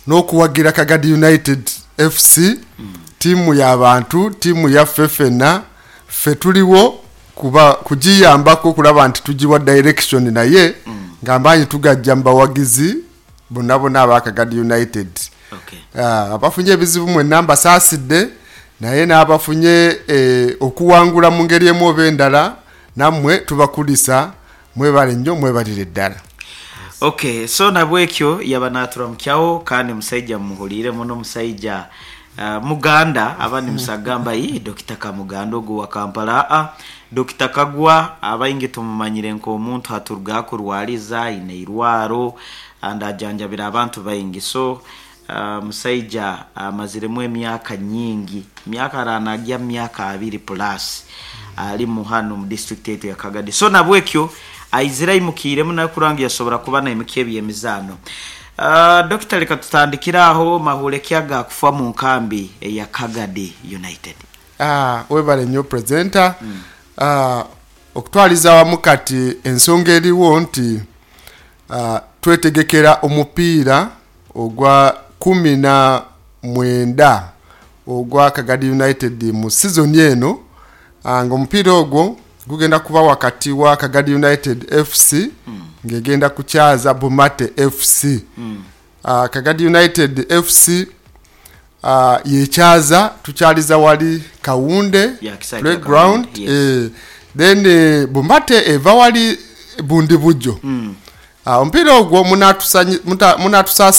N'okuwagira Kagadi United FC, tiimu ya bantu, tiimu yaffe fena. Ffe tuligho kuba kugiyambaku okulaba nti tugiwa direction naye nga amaanyi tugaja mu bawagizi bonabona aba Kagadi United. Abafunye ebizibu mwena mbasaasidde naye n'abafunye okuwangula mu ngeri emu oba endala namwe tubakulisa. Mwebale nnyo mwebalire ddala. Ok, so nabwekyo yaba naturamukyaho kandi musaija mumuhuliire muno, musaija muganda. Abandi musagamba, ii Dokita Kamuganda ogu owa Kampala. Aa, Dokita Kagwa abaingi tumumanyire nk'omuntu haturuga kurwaliza, aine eirwaro and ajanjabire abantu baingi. So musaija amaziremu emyaka nyingi, myaka aranagya mu myaka 20 plus alimu hanu mu district yaitu ya Kagadi. So nabwekyo aizire aimukiiremu nawe kurora ngu yasobora kuba naimukya eby'emizaano. Dokita, leka tutandikire aho, mahuure ki agakufa mu nkambi eya Kagadi United? Webale nnyo presenter. Okutwaliza awamu kati ensonga eriwo nti twetegekera omupiira ogwa 19 ogwa Kagadi United mu sizoni eno nga omupiira ogwo gugenda kuba ghakati wa Kagadi United FC nga egenda kukyaza Bumate FC. Kagadi United FC yekyaza, tukyaliza wali Kawunde Playground, then Bumate eva wali Bundibugyo. Omupiira ogwo munatusaasira.